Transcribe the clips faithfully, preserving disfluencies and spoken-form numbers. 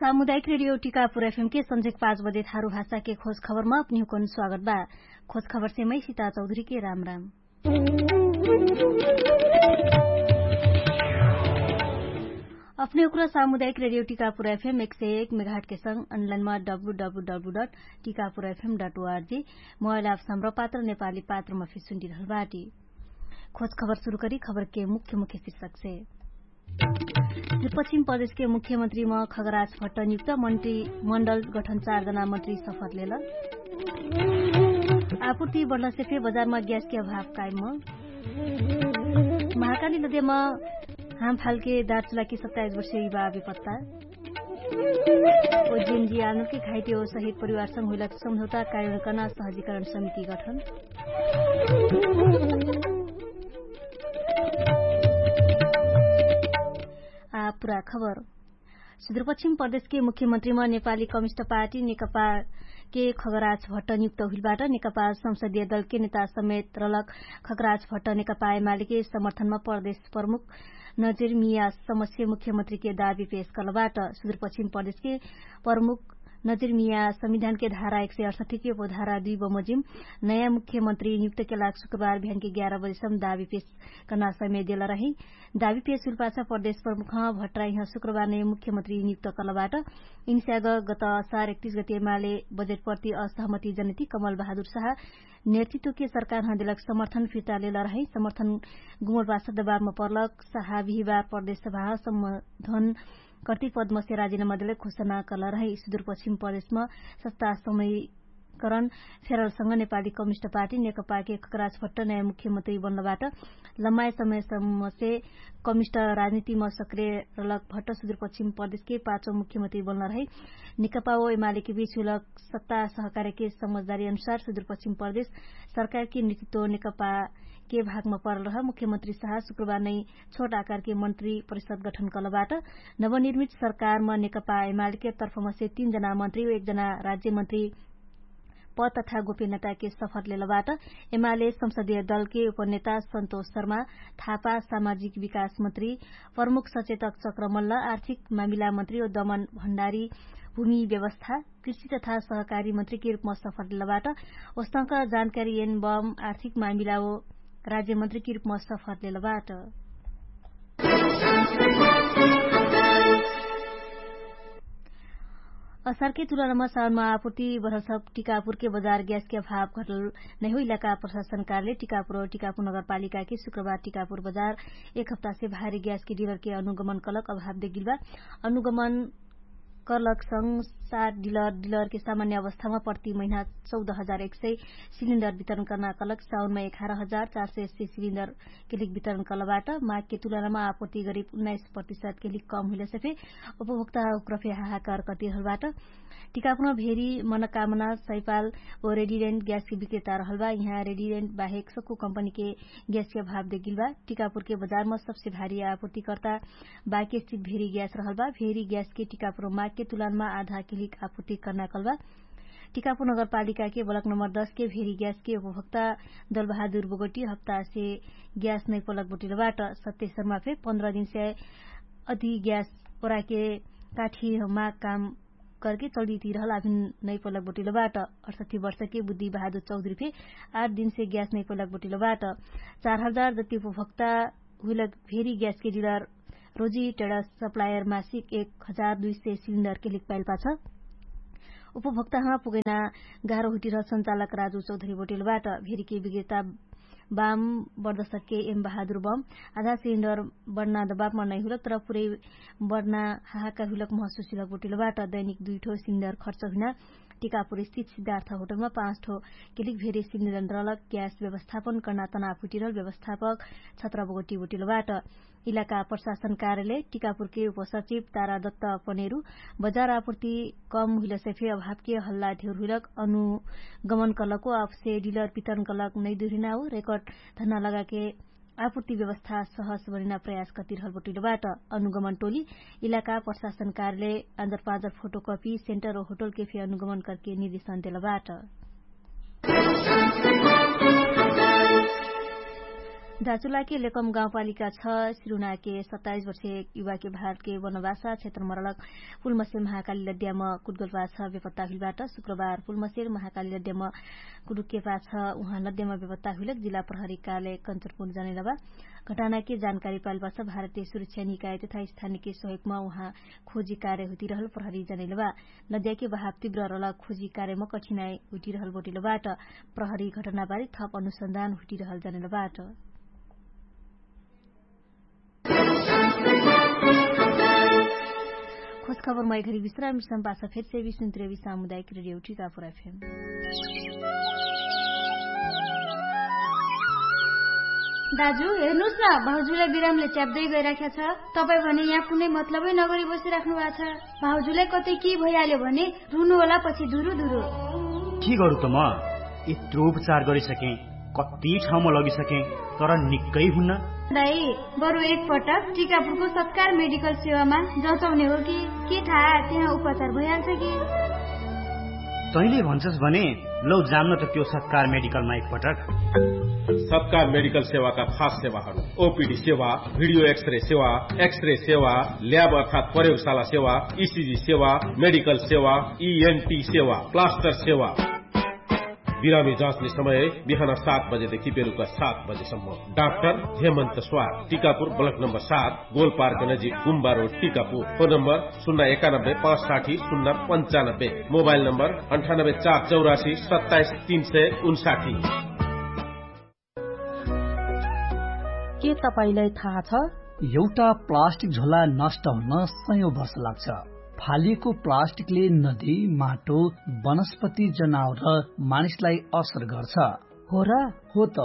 सामुदायिक रेडियो टिकापुर एफएम के सन्झेक पाँच बजे थारु भाषा के खोज खबरमा अपनिहुकन स्वागत बा। खोज खबर से मै सिता चौधरी के राम राम। अपने उक्र सामुदायिक रेडियो टिकापुर एफएम एक सय एक मेघाट के संग अनलाइनमा W W W dot Tikapur F M dot O R G mobile app सम्र पात्र नेपाली पात्रमा फिर सुन्डिरहल बाटी। खोज खबर सुरु करी खबर के मुख्य मुख्य शीर्षक से। पश्चिम प्रदेश के मुख्यमन्त्री म खगराज भट्ट नियुक्त मन्त्री मण्डल गठन चार जना मन्त्री सफर लेल। आपुर्ति बढ्ला से फे बजारमा ग्यास के अभाव कायम। महाकाली नदेमा हाम फालके दार्चुला के सत्ताइस वर्ष युवा बेपत्ता। ओ जिनजी आनन्द के घाइटे ओ सहित परिवारसँग हुइला सम्झौता कायम कर्ना सहजीकरण समिति गठन। आ पुरा खबर। सुदूरपश्चिम प्रदेशके मुख्यमन्त्रीमा नेपाली कमिस्ट पार्टी नेकपाके खगराज भट्ट नियुक्त हुइलबाट नेकपा संसदीय दलके नेता समेत रलक खगराज भट्ट नेकपा एमालेके समर्थनमा प्रदेश प्रमुख नजिर मिया समस्या मुख्यमन्त्रीके दाबी पेश कर्लबाट। सुदूरपश्चिम प्रदेशके प्रमुख नजिर मिया संविधानके धारा एक सय अठसठीके उपधारा दुई बमोजिम नयाँ मुख्यमन्त्री नियुक्तके लाग शुक्रबार बिहानके ग्यार बजेसम्म दाबी पेश कर्ना समय देल रही। दाबी पेश हुइलपाछ प्रदेश प्रमुख भट्टराइह शुक्रबार नै मुख्यमन्त्री नियुक्त कर्लबाट। इन्स्याग गत असार एकतिस गति एमाले बजेटप्रति असहमति जनति कमल बहादुर साह नेतृत्वके सरकारह देलक समर्थन फिर्ता लेल रही। समर्थन गुमलपाछ दबाबमा पर्लक साह बिहिबार प्रदेश सभाह सम्बोधन कर्ति पद्मसे राजिनामा देलक घोषणा कर्ल रही। सुदूरपश्चिम प्रदेशमा सत्ता समय करण फेरलसँग नेपाली कमिस्ट पार्टी नेकपाके खगराज भट्ट नयाँ मुख्यमन्त्री बन्नबाट। लम्बाए समयसम्मसे कमिस्ट राजनीतिमा सक्रिय रलक भट्ट सुदूरपश्चिम प्रदेशके पाँचौ मुख्यमन्त्री बन्नरहै। नेकपा ओ एमालेके बीच हुइलक सत्ता सहकार्यके समझदारी अनुसार सुदूरपश्चिम प्रदेश सरकारके नेतृत्व नेकपाके भागमा परलरह मुख्यमन्त्री साह शुक्रबार नै छोट आकारके मन्त्री परिषद गठन कर्लबाट। नवनिर्मित सरकारमा नेकपा एमालेके तर्फमसे तीन जना मन्त्री ओ एक जना राज्यमन्त्री पद तथा गोप्यनताके सफर लेलबाट। एमाले संसदीय दलके उपनेता सन्तोष शर्मा थापा सामाजिक विकास मन्त्री प्रमुख सचेतक चक्रमल्ल आर्थिक मामिला मन्त्री ओ दमन भण्डारी भूमि व्यवस्था कृषि तथा सहकारी मन्त्रीके रूपमा सफर लेलबाट। ओस्तक जानकारी एन बम आर्थिक मामिला ओ राज्यमन्त्रीके रूपमा सफर लेलबाट। असारके तुलनामा साउनमा आपुर्ति बढलसप टिकापुरके बजार ग्यासके अभाव घटल नैहो इलाका प्रशासन कार्यालय टिकापुर टिकापुर नगरपालिकाके शुक्रबार टिकापुर बजार एक हप्तासे भारी ग्यासके डिलरके अनुगमन कलक अभाव देगिलबा। अनुगमन कर्लक संग सात डिलर डिलरके सामान्य अवस्थामा प्रति महिना चौध हजार एक सय सिलिन्डर वितरण कर्ना कलक साउनमा एघार हजार चार सय अस्सी सिलिन्डर केलिक वितरण कर्लबाट। मागके तुलनामा आपुर्ति गरिब उन्नाइस प्रतिशत केलिक कम हुइलसे फे उपभोक्ता उक्रफे हाहाकार कर्तिरहलबाट। टिकापुर भेरी मनकामना सैपाल ओ रेडिरेन्ट ग्यासके विक्रेता रहलबा। यहाँ रेडिरेन्ट बाहेक सक्कु कम्पनीके ग्यासके अभाव देगिलबा। टिकापुरके बजारमा सबसे भारी आपुर्तिकर्ता बाके स्थित भेरी ग्यास रहलबा। भेरी ग्यासके टिकापुर मागके तुलनमा आधा केलिक आपुर्ति कर्ना कलबा। टिकापुर नगरपालिकाके बलक नम्बर दसके भेरी ग्यासके उपभोक्ता दलबहादुर बोगटी हप्तासे ग्यास नैपलक बोटिलबाट। सत्य शर्मा फे पन्ध्र दिनसे अति ग्यास ओराके काठी माग काम करके चलितिरहल आभिन नैपलक बोटिलबाट। अठसठी वर्षके बुद्धि बहादुर चौधरी फे आठ दिनसे ग्यास नैपलक बोटिलबाट। चार हजार जति उपभोक्ता हुइलक भेरी ग्यासके डिलर रोजी टेडा सप्लायर मासिक एक हजार दुई सय सिलिन्डरके लिक पाइलपाछ। उपभोक्ताहमा पुगैना गाह्रो हुइटिरह सञ्चालक राजु चौधरी बोटिलबाट। भेरीके विक्रेता बाम बर्दसके एम बहादुर बम आधा सिलिन्डर बढ्ना दबाबमा नैहुलक तर पुरै बढ्ना हाहाकार हुइलक महसुसिलक बोटिलबाट। दैनिक दुइठो सिलिन्डर खर्च हुइना टिकापुर स्थित सिद्धार्थ होटलमा पाँचठो केलिक भेरी सिलिन्डर रलक ग्यास व्यवस्थापन कर्ना तनाव हुइटिरहल व्यवस्थापक छत्र बोगटी बोटिलबाट। इलाका प्रशासन कार्यालय टिकापुरके उपसचिव तारा दत्त पनेरु बजार आपुर्ति कम हुइलसे फे अभावके हल्ला धेउर हुइलक अनुगमन कलको अफसे डिलर वितरण कलक नैदुरिनाउ रेकर्ड धन्ना लगाके आपुर्ति व्यवस्था सहस बनिना प्रयास कर्तिरहल बोटिलबाट। अनुगमन टोली इलाका प्रशासन कार्यालय आन्जर पाँजर फोटोकपी सेन्टर ओ होटलके फे अनुगमन करके निर्देशन देलबाट। दाचुलाके लेकम गाउँपालिका छ सिरुनाके सत्ताइस वर्षे युवाके भारतके वनवासा क्षेत्र मरलक पुलमसेर महाकाली लद्याम कुटगोलपाछ बेपत्ता हुइलबाट। शुक्रबार पुलमसेर महाकाली लद्याम कुटुकेपाछ उहाँ लद्याम बेपत्ता हुइलक जिल्ला प्रहरी काले कन्चरपुर जनैलबा। घटानाके जानकारी पाइलपाछ भारतीय सुरक्षा निकाय तथा स्थानिके सहयोगमा उहाँ खोजी कार्य हुतिरहल प्रहरी जनैलबा। नद्याके बहाव तिब्र रल खोजी कार्यम कठिनाइ हुटिरहल बोटिलबाट। प्रहरी घटनाबारे थप अनुसन्धान हुटिरहल जनैलबाट। खोजखबरमा एघरी विश्राम विश्राम पाछ फेर सेवी सुन्त्रेवी सामुदायिक रेडियो टिकापुर एफएम। दाजु हेर्नुस् न, भाउजूलाई बिरामले च्याप्दै गइराख्या छ। तपाईँ भने यहाँ कुनै मतलबै नगरी बसिराख्नु भएको छ। भाउजूलाई कतै के भइहाल्यो भने रुनु होला पछि धुरु धुरु। के गरु त म यत्रो उपचार गरिसकेँ, कति ठाउँमा लगिसकेँ, तर निक्कै हुन्न। दाइ, बरु एक पटक टिकापुरको सत्कार मेडिकल सेवामा जचाउने हो कि के थाहा, त्यहाँ उपचार भइहाल्छ कि। तैँले भन्छस् भने लौ जान्न त त्यो सत्कार मेडिकलमा एक पटक। सत्कार मेडिकल सेवाका खास सेवाहरू, ओपिडी सेवा, भिडियो एक्सरे सेवा, एक्सरे सेवा, ल्याब अर्थात् प्रयोगशाला सेवा, इसिजी सेवा, मेडिकल सेवा, इएनटी सेवा, प्लास्टर सेवा। बिरामी जाँच्ने समय बिहान सात बजेदेखि बेलुका सात बजेसम्म। डाक्टर हेमन्त स्वार, टिकापुर ब्लक नम्बर सात, गोलपार्क नजिक गुम्बा रोड टिकापुर। फोन नम्बर शून्य एकानब्बे पाँच साठी शून्य पन्चानब्बे। मोबाइल नम्बर अन्ठानब्बे चार चौरासी सत्ताइस तीन सय उन्साठी। के तपाईंलाई थाहा छ? एउटा प्लास्टिक झोला नष्ट हुन सयौं वर्ष लाग्छ। फालिएको प्लास्टिकले नदी, माटो, वनस्पति, जनावर र मानिसलाई असर गर्छ। हो र? हो त।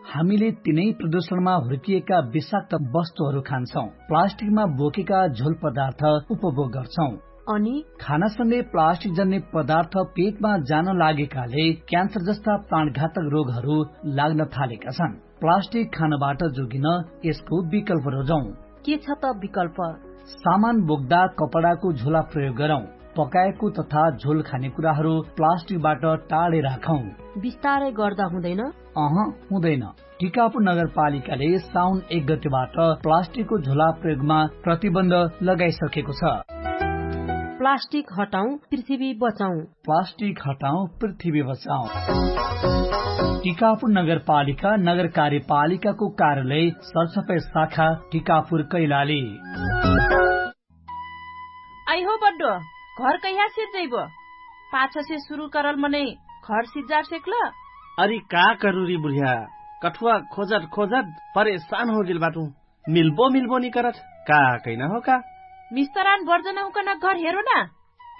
हामीले तिनै प्रदूषणमा हुर्किएका विषाक्त वस्तुहरू खान्छौं। प्लास्टिकमा बोकेका झोल पदार्थ उपभोग गर्छौं। अनि खानासँगै प्लास्टिक जन्ने पदार्थ पेटमा जान लागेकाले क्यान्सर जस्ता प्राणघातक रोगहरू लाग्न थालेका छन्। प्लास्टिक खानबाट जोगिन यसको विकल्प रोजौं। के छ त विकल्प? सामान बोक्दा कपडाको झोला प्रयोग गरौं। पकाएको तथा झोल खाने कुराहरू प्लास्टिकबाट टाढे राखौं। बिस्तारै गर्दा हुँदैन? अह, हुँदैन। टिकापुर नगरपालिकाले साउन एक गतेबाट प्लास्टिकको झोला प्रयोगमा प्रतिबन्ध लगाइसकेको छ। प्लास्टिक हटाउँ, पृथ्वी बचाउँ। प्लास्टिक हटाउँ, पृथ्वी बचाउँ। टिकापुर नगरपालिका, नगर कार्यपालिकाको कार्यालय, सरसफाइ शाखा, टिकापुर कैलाली। आइहो बड्डो, घर कहिया सिज्जैबो? पाछसे सुरु करल मनै घर सिज्जार सेक्ल? अरि का करुरी बुढिया, कठुवा खोजत खोजत परेशान होगेल बाटु। मिल्बो मिल्बो नि करत, का कैना हो का? मिस्तरान बर्जन हुकन घर हेरो ना।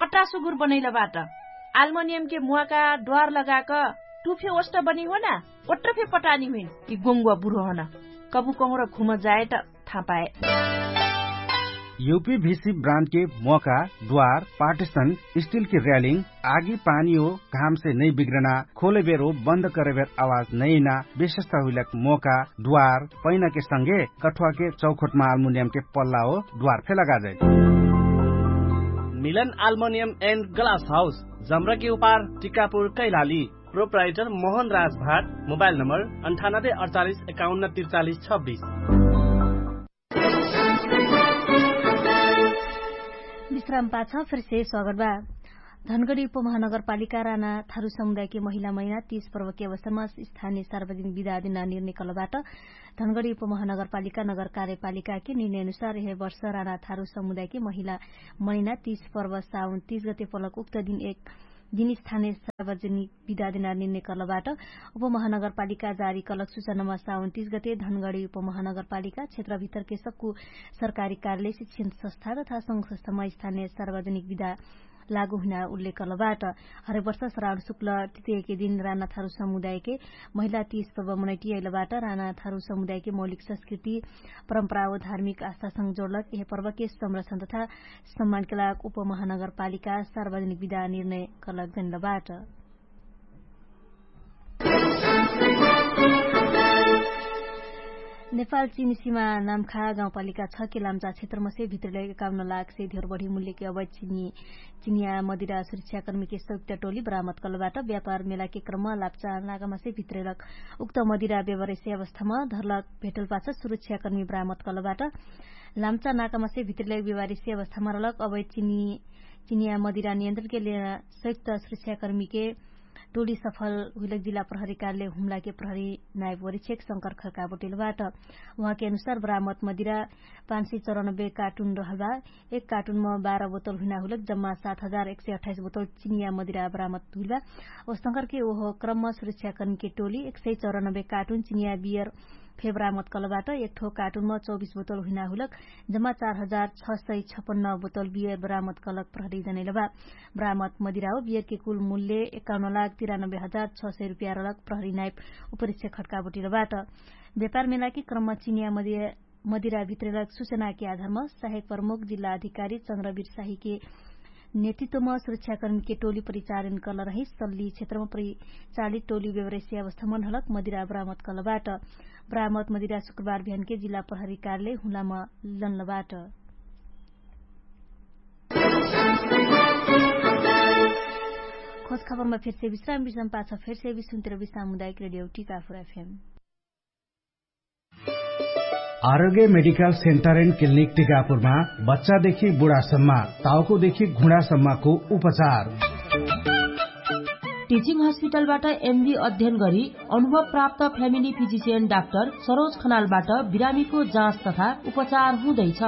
अट्टा सुगुर बनैल बाट। आल्मोनियमके मुवाका द्वार लगाक टुफे ओष्ट बनी हो ना। ओट्ट फे पटानी हुइन। यि गोङ्गुवा बुढो हन। कबु कहुँर घुम जाए त थाहा पाए। युपीभिसी ब्रान्डके मोका, द्वार, पार्टिसन, स्टिलके र्यालिङ, आगी पानी हो, घामसे नै बिग्रना, खोलेबेर हो, बन्द करेबेर आवाज नैना, विशेषता हुइलक मोका, द्वार, पैनाके संगे कठुवाके चौखोटमा आल्मुनियमके पल्ला हो, द्वार फे लगाजै। मिलन आल्मुनियम एन्ड ग्लास हाउस, जमराके उपार, टिकापुर कैलाली। प्रोप्राइटर मोहन राज भाट। मोबाइल नम्बर अन्ठानब्बे अडचालिस एकाउन्न त्रिचालिस छब्बिस। विश्राम पाछ फेरसे स्वागत बा। धनगढी उपमहानगरपालिका राना थारु समुदायके महिला महिना तीस पर्वके अवसरमा स्थानीय सार्वजनिक विदा दिना निर्णय कलबाट। धनगढी उपमहानगरपालिका नगर कार्यपालिकाके निर्णय अनुसार यहे वर्ष राना थारु समुदायके महिला महिना तीस पर्व साउन तीस गते पलक उक्त दिन एक दिन स्थानीय सार्वजनिक विदा देना निर्णय कर्लबाट। उपमहानगरपालिका जारी कलक सुचनामा साउन तीस गते धनगढी उपमहानगरपालिका क्षेत्र भितरके सक्कु सरकारी कार्यालय शिक्षण संस्था तथा संघ संस्थामा स्थानीय सार्वजनिक विदा लागु हुना उल्लेख कर्लबाट। हरेक वर्ष श्रावण शुक्ल तृतीयके दिन रानाथारु समुदायके महिला तीस पर्व मनैटियैलबाट रानाथारु समुदायके मौलिक संस्कृति परम्परा व धार्मिक आस्थासँग जोडलक यहे पर्वके संरक्षण तथा सम्मानके लाग उपमहानगरपालिका सार्वजनिक विदा निर्णय कर्लक जनलबाट। नेपाल चिनी सिमा नामखा गाउँपालिका छ के लाम्चा क्षेत्रमसे भित्रिलैक एकाउन्न लाखसे धेर बढी मुल्यके अवैध चिनी चिनिया मदिरा सुरक्षाकर्मीके सौक्त्या टोली बरामत कलबाट। व्यापार मेलाके क्रम लाप्चा नाकामसे भित्रिलक उक्त मदिरा व्यवहारिसे अवस्थामा धरलक भेटलपाछ सुरक्षाकर्मी बरामत कलबाट। लाम्चा नाकामसे भित्रिलैक व्यवहारिसे अवस्थामा रहलक अवैध चिनी चिनिया मदिरा नियन्त्रणके लेना सौक्त सुरक्षाकर्मीके टोली सफल हुइलक जिल्ला प्रहरी कार्यालय हुम्लाके प्रहरी नायब वरिक्षक शंकर खर्का बोटेलबाट। उहाँके अनुसार बरामत मदिरा पाँच सय चौरानब्बे कार्टुन रहलबा। एक कार्टुनमा बाह्र बोतल हुइना हुइलक जम्मा सात हजार एक सय अठाइस बोतल चिनिया मदिरा बरामत हुइलबा। ओ शंकरके ओहो क्रममा सुरक्षाकर्मीके टोली एक सय चौरानब्बे कार्टुन चिनिया बियर फे बरामत कलबाट। एक ठो कार्टुनमा चौबिस बोतल हुइना हुइलक जम्मा चार हजार छ सय छपन्न बोतल बियर बरामत कलक प्रहरी जनैलबा। बरामत मदिराओ बियरके कुल मुल्य एकाउन्न लाख तिरानब्बे हजार छ सय रुपियाँ रलक प्रहरी नाइप उपरिक्षक खट्का बोटिलबाट। व्यापार मेलाके क्रममा चिनिया मदिरा भित्रेलक सुचनाके आधारमा सहायक प्रमुख जिल्ला अधिकारी चन्द्रवीर साहिके नेतृत्वमा सुरक्षाकर्मीके टोली परिचारण कलरही सल्ली क्षेत्रमा परिचालित टोली व्यवरेसी अवस्थामा ढलक मदिरा बरामत कलबाट। बरामत मदिरा शुक्रबार भियानके जिल्ला प्रहरी कार्यालय हुलामा लन्लबाट। खोज खबरमा फेरसे विश्राम विश्राम पाछ फेरसे विश्राम मुदायक रेडियो टिकाफुर एफएम। आरोग्य मेडिकल सेन्टर एन्ड क्लिनिक टिकापुरमा बच्चादेखि बुढासम्म, ताउकोदेखि घुँडासम्मको उपचार। टिचिङ हस्पिटलबाट एमडी अध्ययन गरी अनुभव प्राप्त फ्यामिली फिजिसियन डाक्टर सरोज खनालबाट बिरामीको जाँच तथा उपचार हुँदैछ।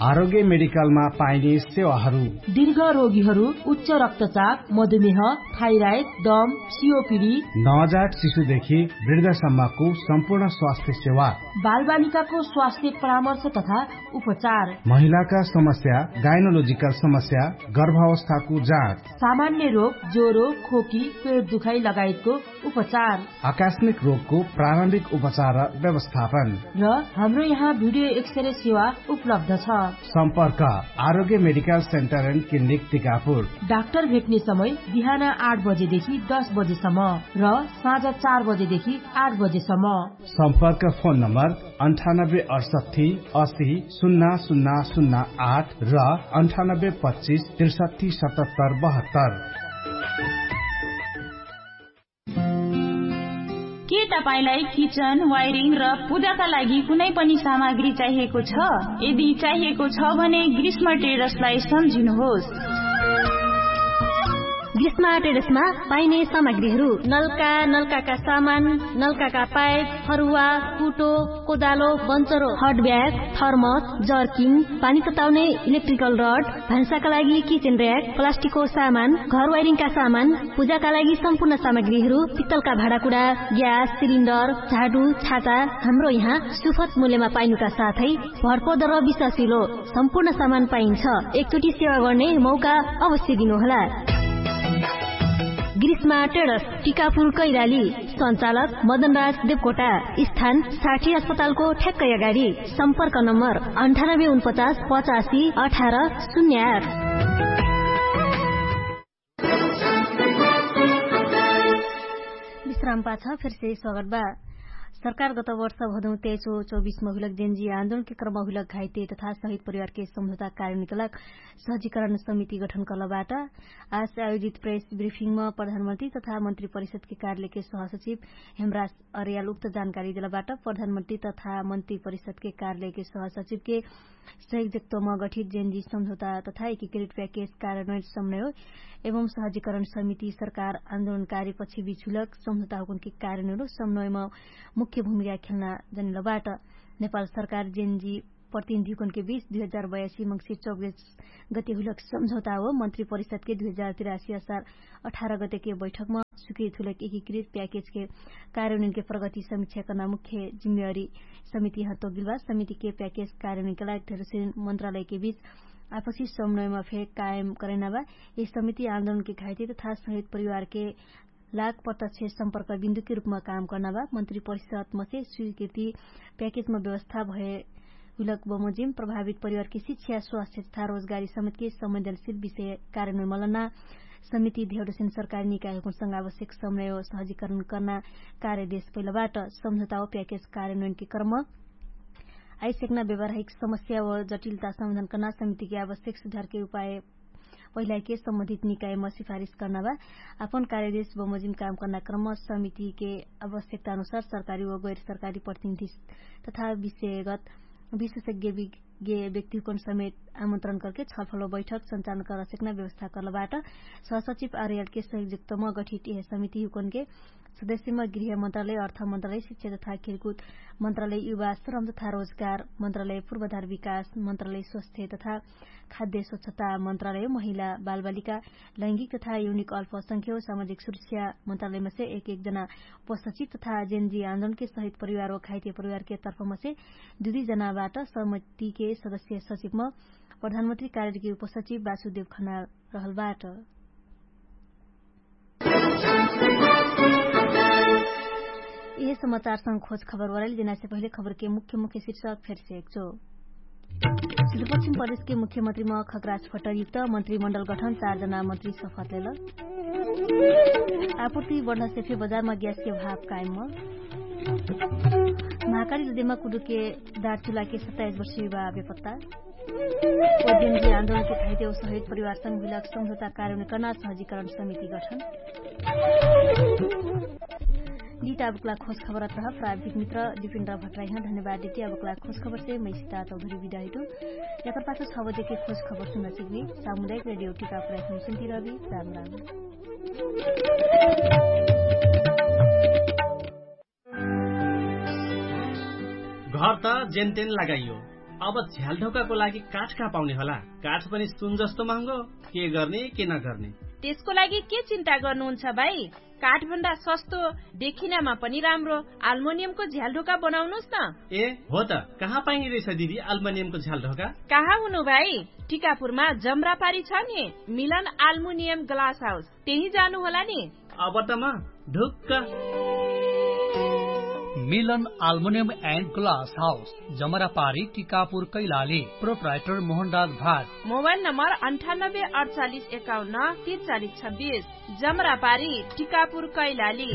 आरोग्य मेडिकलमा पाइने सेवाहरू। दीर्घ रोगीहरू उच्च रक्तचाप, मधुमेह, थाइराइड, दम, सिओपिडी, नवजात शिशुदेखि वृद्धसम्मको सम्पूर्ण स्वास्थ्य सेवा। बालबालिकाको स्वास्थ्य परामर्श तथा उपचार। महिलाका समस्या, गाइनोलोजिकल समस्या, गर्भावस्थाको जाँच। सामान्य रोग, ज्वरो, खोकी, पेट दुखाइ लगायतको उपचार। आकस्मिक रोगको प्रारम्भिक उपचार र व्यवस्थापन। र हाम्रो यहाँ भिडियो एक्सरे सेवा उपलब्ध छ। सम्पर्क आरोग्य medical centre and clinic Tikapur. Doctor भेट्ने समय बिहान आठ बजेदेखि दस बजेसम्म र साँझ चार बजेदेखि आठ बजेसम्म। सम्पर्क फोन नम्बर अन्ठानब्बे अठसट्ठी असी सुन्ना सुन्ना सुन्ना आठ र अन्ठानब्बे पच्चिस त्रिसट्ठी सतहत्तर बहत्तर। के तपाईंलाई किचन वायरिङ र पूजाका लागि कुनै पनि सामग्री चाहिएको छ? यदि चाहिएको छ भने ग्रीष्म ट्रेडर्सलाई सम्झिनुहोस्। ग्रीष्म ट्रेडर्समा पाइने सामग्रीहरू नलका, नलकाका सामान, नलकाका पाइप, फरुवा, कुटो, कोदालो, बन्चरो, हट ब्याग, थर्मस, जर्किङ, पानी तताउने इलेक्ट्रिकल रड, भान्साका लागि किचन र्‍याक, प्लास्टिकको सामान, घर वायरिङका सामान, पूजाका लागि सम्पूर्ण सामग्रीहरू, पित्तलका भाँडाकुडा, ग्यास सिलिन्डर, झाडु, छाता, हाम्रो यहाँ सुफत मूल्यमा पाइनुका साथै भरपर्दो र विश्वासिलो सम्पूर्ण सामान पाइन्छ। एकचोटि सेवा गर्ने मौका अवश्य दिनुहोला। ग्रीष्मा ट्रेडर्स, टिकापुर कैराली। सञ्चालक मदनराज देवकोटा। स्थान साठी अस्पतालको ठ्याक्कै अगाडि। सम्पर्क नम्बर अन्ठानब्बे उनपचास पचासी अठार शून्य आठ। विश्राम पाछ फेरसे स्वागत बा। सरकार गत वर्ष भदौ तेइसो चौबिसमा हुइलक जेन्जी आन्दोलनके क्रम हुइलक घाइते तथा शहीद परिवारके सम्झौता कार्यान्वयनके लाग सहजीकरण समिति गठन कलबाट। आज आयोजित प्रेस ब्रिफिङमा प्रधानमन्त्री तथा मन्त्री परिषदके कार्यालयके सहसचिव हेमराज अर्याल उक्त जानकारी देलबाट। प्रधानमन्त्री तथा मन्त्री परिषदके कार्यालयके सहसचिवके सहयोगजकत्वमा गठित जेन्जी सम्झौता तथा एकीकृत प्याकेज कार्यान्वयन समन्वय एवं सहजीकरण समिति सरकार आन्दोलनकारी पक्षबीच हुइलक सम्झौता हुकुनके कार्यान्वयन समन्वयमा मुख्य भूमिका खेल्ना जनिलबाट। नेपाल सरकार जेन्जी प्रतिनिधिहुकुनके बीच दुई हजार बयासी मङ्सिर चौबिस गते हुइलक सम्झौता हो। मन्त्री परिषदके दुई हजार तिरासी असार अठार गतेके बैठकमा स्वीकृत हुइलक एकीकृत प्याकेजके कार्यान्वयनके प्रगति समिक्षा कर्ना मुख्य जिम्मेवारी समिति हत्तो गिल्बा। समितिके प्याकेज कार्यान्वयनके लाग धेरसिन मन्त्रालयके बीच आपसी समन्वयमा फे कायम करैना बा। यस समिति आन्दोलनके घाइते तथा शहीद परिवारके लाग प्रत्यक्ष सम्पर्क बिन्दुके रूपमा काम कर्ना बा। मन्त्री परिषदमसे स्वीकृति प्याकेजमा व्यवस्था भए हुइलक बमोजिम प्रभावित परिवारके शिक्षा, स्वास्थ्य तथा रोजगारी समेतके संवेदनशील विषय कार्यान्वयन मलना समिति धेउडसिन सरकारी निकायहुकुनसँग आवश्यक समन्वय सहजीकरण कर्ना कार्य देश पहिलबाट। सम्झौता हो प्याकेज कार्यान्वयनके क्रम आइसेक्ना व्यवहारिक समस्या व जटिलता सम्बन्धन कर्ना समितिके आवश्यक सुधारके उपाय पहिलाके सम्बन्धित निकायमा सिफारिस कर्ना बा। आपन कार्यदेश बमोजिम काम कर्ना क्रम समितिके आवश्यकता अनुसार सरकारी व गैर सरकारी प्रतिनिधि तथा विषयगत विशेषज्ञ व्यक्तिहुकन समेत आमन्त्रण करके छलफल व बैठक सञ्चालन करसेक्ना व्यवस्था कर्लबाट। सहसचिव आर्यलके सहयोगजकतम गठित यह समितिहुकनके सदस्यमा गृह मन्त्रालय, अर्थ मन्त्रालय, शिक्षा तथा खेलकुद मन्त्रालय, युवा श्रम तथा रोजगार मन्त्रालय, पूर्वाधार विकास मन्त्रालय, स्वास्थ्य तथा खाद्य स्वच्छता मन्त्रालय, महिला बालबालिका, लैङ्गिक तथा युनिक अल्पसंख्यक सामाजिक सुरक्षा मन्त्रालयमा से एक एक जना उपसचिव तथा जेनजी आन्दोलनके सहित परिवार व घाइते परिवारके तर्फमा से दुई दुई जनाबाट समितिके सदस्य सचिवमा प्रधानमन्त्री कार्यके उपसचिव वासुदेव खना रहलबाट। यह समाचारसँग खोज खबर वराइल देनासे पहिले खबरके मुख्य मुख्य शीर्षक फेरसे एकचो। सुदूरपश्चिम प्रदेशके मुख्यमन्त्रीमा खगराज फटरयुक्त मन्त्रीमण्डल गठन, चार जना मन्त्री सफत लेल। आपूर्ति बढ्नासे फे बजारमा ग्यासके भाव कायम। महाकाली नदीमा कुडुके दार चुलाके सत्ताइस वर्षीय बा बेपत्ता। ओजेनजी आन्दोलनके घाइते व सहित परिवारसँग हुइलक सम्झौता कार्यक्रम कर्ना सहजीकरण समिति गठन। दित अबकला खोज खबरत रह प्राविधिक मित्र दिपिन्द्र भट्राइह धन्यवाद दिति अबकला खोज खबरसे मैसिता चौधरी बिदाहिटु। यकर पाछ छ बजेके खोज खबर सुन्ना सिक्बी। सामुदायिक रेडियो टिका प्रयासम सुन्ति रहबी। राम राम। घर त जेनतेन लगाइयो। अब झ्यालढोकाको लागि काठ कहाँ पाउने होला? काठ पनि सुन जस्तो महँगो। के गर्ने के नगर्ने? त्यसको लागि के चिन्ता गर्नुहुन्छ भाइ? काठभन्दा सस्तो, देखिनामा पनि राम्रो आल्मोनियमको झ्यालढोका बनाउनुस् न। ए हो त, कहाँ पाइने रहेछ दिदी आल्मोनियमको झ्यालढोका? कहाँ हुनु भाइ? टिकापुरमा जम्रापारी छ नि, मिलन आल्मोनियम ग्लास हाउस, त्यही जानु होला नि। अब त म ढुक्क। मिलन आल्मोनियम एन्ड ग्लास हाउस, जमरापारी टिकापुर कैलाली। प्रोप्राइटर मोहनराज भाट। मोबाइल नम्बर अन्ठानब्बे अडचालिस एकाउन्न तिरचालिस छब्बिस। जमरापारी टिकापुर कैलाली।